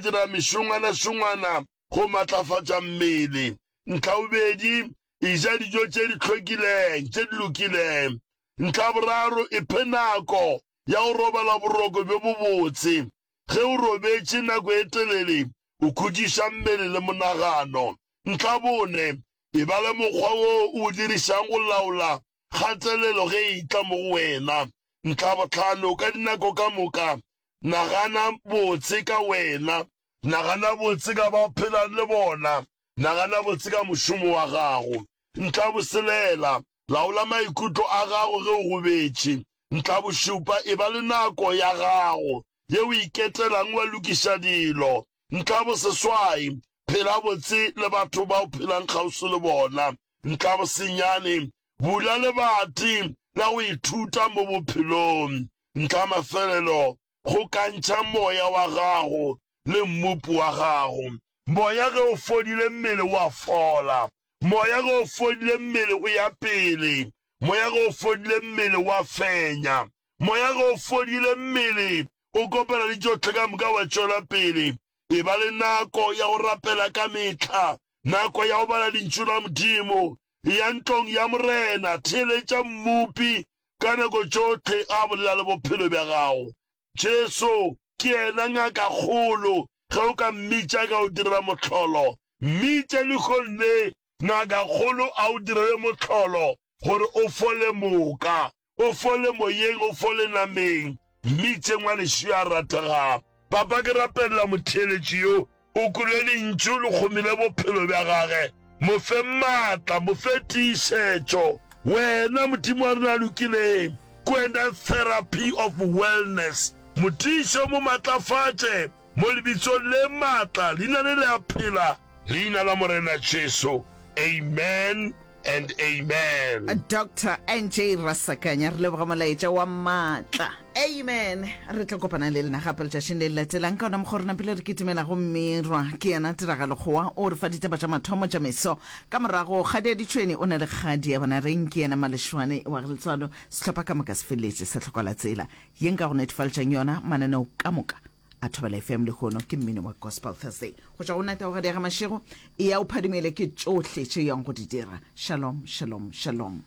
dira mešongwana-šongwana go matlafatša mmele. Ntlhabobedi, eja dijo tše di hlwekileng, tše di lokileng. Ntlhaboraro, iphe nako ya go robala boroko bjo bobotse. Ge o robetše nako e telele, o khutšiša mmele le monagano. Ntlhabone, eba le mokgwa woo o o dirišang go laola kgatelelo ge e etla mo go wena. Ntlhabohlano, ka dinako ka moka nagana botse ka wena, nagana botse ka ba o phelang le bona, nagana botse ka mošomo wa gago. Ntlhaboselela, laola maikutlo a gago ge o gobetše. Ntlhabošupa, eba le nako ya gago ye o iketelang wa lokiša dilo. Ntlhaboseswai, phela botse le batho ba o phelang kgauswi le bona. Ntlabosenyane, bula lebati la go ithuta mo bophelong. Ntlamafelelo, kgokantšha moya wa gago le Mmopi wa gago. Moya ge o fodile mmele o a fola. Moya ge o fodile mmele o ya pele. Moya ge o fodile mmele o a fenya. Moya ge o fodile mmele o kopana le tšohle ka moka wa tšwela pele. Eba le nako ya go rapela ka mehla, nako ya go bala Lentšu la Modimo. Eya ntlong ya Morena, theeletša Mmopi ka nako tšohle a bolela le bophelo bja gago. Jesu ke yena Ngakakgolo, ge o ka mmitša ka o direla mohlolo. Mmitše lehono le, Ngakakgolo a o direle mohlolo gore o fole moka. O fole moyeng, o fole nameng. Mmitše ngwanešu yo a rategago. Papa, ke rapelela motheeletši yo. O kwele Lentšu le kgomile bophelo bja gage. Mo fe maatla, mo fe tiišetšo. Wena, Modimo wa rena a lokileng, ke wena therapy of wellness. Mo tiiše o mo matlafatše, mo Lebitsong le maatla, Leina le le a phela, Leina la Morena Jesu. Amen and amen. Doctor NJ Rasakanya, re leboga molaetša wa maatla. Amen. Re tlo kopana le lena gape letšatšing le le latelang ka ona mokgwa o re napile re kitimela go Mmirwa. Ke yena Tiragalo Kgowa o re fa ditaba tša mathomo tša meso. Ka morago Kgadi ya Ditšhweni o na le Kgadi ya Bonareng, ke yena Malešwane wa Letswalo. Sehlopha ka moka se feleletše sa hloka la tsela ye nka go netefaletšang yona mananeo ka moka a Thobela FM lehono ke mmino wa Gospel Thursday. Go tšwa go nna Taugadi ya ga Mashego, eya o phadimele ke tšohle tše yang go di dira. Shalom, shalom, shalom.